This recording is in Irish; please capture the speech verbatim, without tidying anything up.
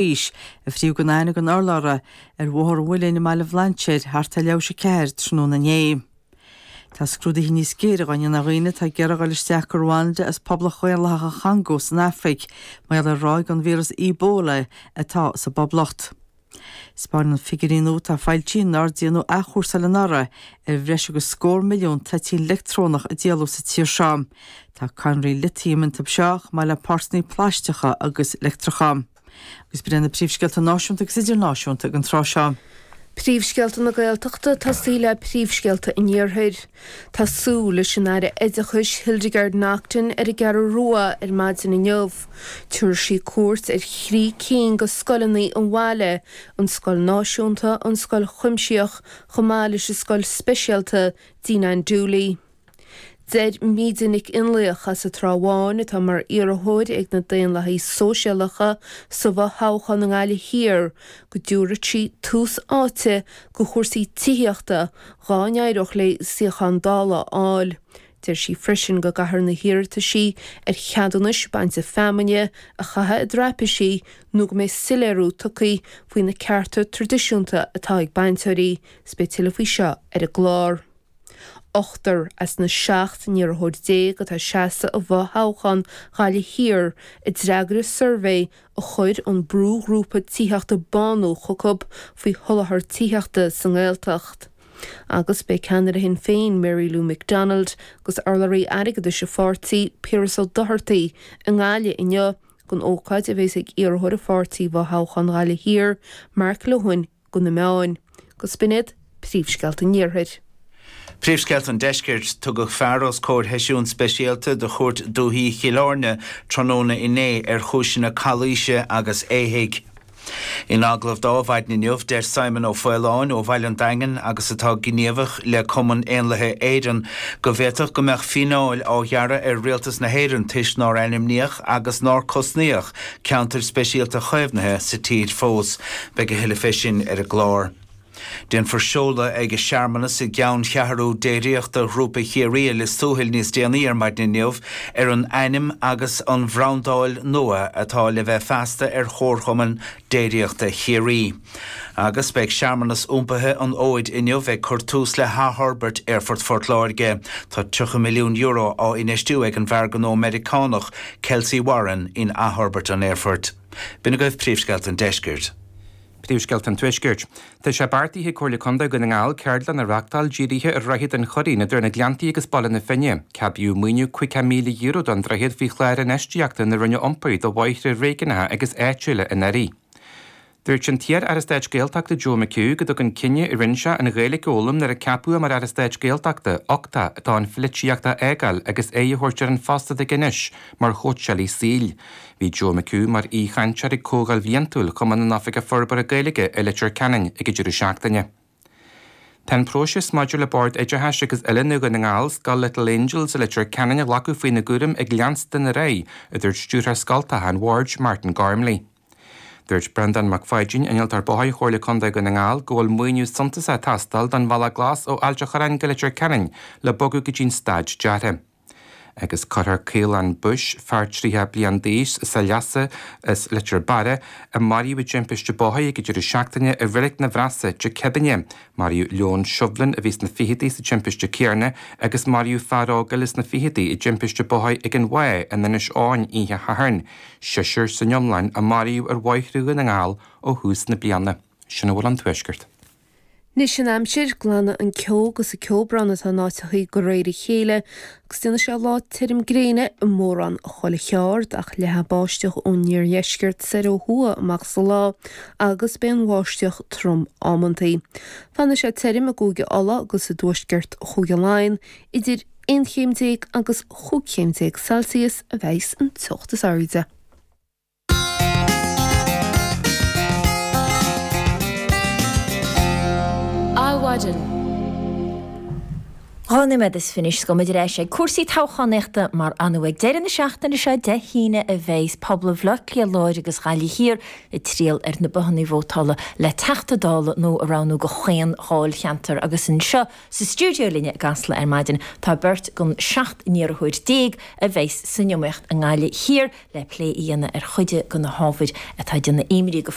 d'aois, a fríodh gan aithne den urlabhra ar Bhóthar an Mhuilinn i mBaile Bhlainséir thart ar leathuair tar éis a ceathair tráthnóna inné. Tá scrúduithe níos géire á ndéanamh ar dhaoine atá ag iarraidh dul isteach go Rwanda as Poblacht Dhaonlathach an Chongó san Afraic, mar gheall ar ráig an víreas Ebola atá sa bPoblacht. 'Spáineann figiúirí nua atá foilsithe nár déanadh athchúrsáil anuraidh ar bhreis agus scór milliún toitín leictreonach a díoladh sa tír seo. Tá cadhnraí litiam iontu seo chomh maith le páirteanna plaisteacha agus leictreacha. Agus b'in iad na príomhscéalta náisiúnta agus idirnáisiúnta ag an tráth seo. Príomhscéalta na Gaeltachta ag tosaí le príomhscéalta an Iarthair. Tá súil leis an Aire Oideachais Hildegarde Naughton ar an gCeathrú Rua ar maidin inniu. Tabharfaidh sí cuairt ar thrí cinn de scoileanna an bhaile, an Scoil Náisiúnta, an Scoil Chuimsitheach chomh maith leis an Scoil Speisialta Dean Ann Dooley. Deir Míde Nic Fhionnlaoich as an Trá Bháin, atá mar iarrthóir ag na Daonlathaithe Sóisialacha sa bhfothoghchán i nGaillimh Thiar, go dtabharfadh sí tús áite do chúrsaí tithíochta dhá n-éireodh léi suíochán Dála a fháil. Deir sí freisin go gcaithfear na hiarrataisí ar cheadúnais bainte feamainne a chaitheamh i dtraipisí nó go mbeidh soiléiriú tugtha faoi na cearta traidisiúnta atá ag bainteoirí. 'S beidh tuilleadh faoi seo ar an gclár. Ochtar as na seacht n-iarrthóir déag atá ag seasamh i bhfothoghchán Ghaillimh Thiar a d'fhreagair an suirbhé a chuir an brúghrúpa tithíochta Bánú chucu faoi sholáthar tithíochta sa nGaeltacht. Agus beidh ceannaire Shinn Féin Mary Lou McDonald agus urlabhraí airgeadais a pháirtí Piaras Ó Dochartaigh i nGaillimh inniu don ócáid a bheas ag iarrthóir a pháirtí i bhfothoghchán Ghaillimh Thiar Mark Lohan do na meáin. Agus b'in iad príomhscéalta an Iarthair. Príomhscéalta an Deiscirt, Tugadh fear os comhair sheisiún speisialta de Chúirt Dúiche Chill Airne tráthnóna inné ar chúiseanna calaoise agus éithigh. In agallamh dó ar maidin inniu, deir Simon Ó Faoláin ó Bhaile an Daingin agus atá gníomhach le Cumann Éanlaithe Éireann go bhféadfadh go mbeadh fíneáil á ghearradh ar Rialtas na hÉireann toisc nár ainmníodh agus nár cosnaíodh ceantair speisialta chaomhnaithe sa tír fós. Beidh a thuilleadh fé sin ar an gclár. Déanfar seoladh ag searmanas i gceanncheathrú déiríochta Ghrúpa Chiarraí i Lios Tuathail níos déanaí ar maidin inniu ar an ainm agus an bhrandáil nua atá le bheith feasta ar Chomharchumann Déiríochta Chiarraí. Agus beidh searmanas iompaithe an fhóid inniu ag cur tús le hathfhorbairt Aerfort Phort Láirge. Tá tríocha milliún euro á infheistiú ag an bhfear gnó Meiriceánach Kelcy Warren in athfhorbairt an aerfoirt. B'in agaibh príomhscéalta an deiscirt. Príomhscéalta an Tuaiscirt. Tá sé beartaithe ag Comhairle Contae Dhún na nGall ceardlann a reáchtáil dírithe ar Dhroichead an Choirín idir na Gleanntaí agus Baile na Finne. Ceadaíodh maoiniú caoga míle euro don droichead faoi chlár infheistíochta na Roinne Iompair do bhóithre réigiúnacha agus áitiúla anuraidh. Dúirt an t-iar-Aire Stáit Gaeltachta Joe McHugh go dtugann cinneadh a rinne sé an Ghaeilge a fhoghlaim nuair a ceapadh é mar Aire Stáit Gaeltachta uchtach dó an pholaitíocht a fhágáil agus aghaidh a thabhairt ar an phost atá aige anois mar chóitseálaí saoil. Bhí Joe McHugh mar aoichainteoir ag Comhdháil Bhliantúil Chumann na nOifigeach Forbartha Gaeilge i Leitir Ceanainn ag an deireadh seachtaine. Tá an próiseas maidir le Bord Oideachais agus Oiliúna Dhún na nGall, Scoil Little Angels i Leitir Ceanainn a ghlacadh faoina gcúram ag leanstan ar aghaidh, a dúirt Stiúrthóir Scoltacha an Bhoird, Martin Gormley. Dúirt Breandán Mac Pháidín, Innealtóir Bóthair Chomhairle Contae Dhún na nGall, go bhfuil maoiniú suntasach ag teastáil don Bhealach Glas ó Ailt a' Chorráin go Leitir Ceanainn le bogadh go dtí'n staid deartha. Agus cuirfear Caolán Bush, fear tríocha bliain d'aois as an Leasa as Leitir Beara, a maraíodh i dtimpiste bóthair ag an deireadh seachtaine i Reilig na Bhreasa, Tigh Chibinne. Maraíodh Leon Shovlin a bhí sna fichidí sa timpiste céanna agus maraíodh fear óg eile sna fichidí i dtimpiste bóthair ag an Mhaigh in Inis Eoghain oíche Shathairn. Seisear san iomlán a maraíodh ar bhóithre Dhún na nGall ó thús na bliana. Sin a bhfuil ón Tuaisceart. Anois an aimsir, glanfaidh an ceo agus an ceobrán atá in áiteachaí de réir a chéile agus déanfaidh sé lá tirim gréine i mórán chuile cheard ach leathfaidh báisteach ón iardheisceart soir ó thuaidh amach sa lá agus beidh an bháisteach trom amantaí. Fanfaidh sé tirim i gCúige Uladh agus i dtuaisceart Chúige Laighean idir aon chéim déag agus chúig chéim déag Celsius a bheas an teocht is airde. Adhmhaidin. Dhá Dhá nóiméad is fiche anois gabhfaidh muid ar ais ag cúrsaí toghchánaíochta mar ar ndóigh ag deireadh na seachtaine seo Dé hAoine a bheas pobal Bhaile Átha Cliath Láir agus Ghaillimh Thiar ag triall ar na bothanna vótála le Teachta Dála nua a roghnú do chaon dháilcheantar agus anseo sa stiúideo linne i gCasla ar maidin tá beirt den seacht n-iarrthóir déag a bheas san iomaíocht i nGaillimh Thiar le plé a dhéanamh ar chuid de na hábhair atá ag déanamh imní go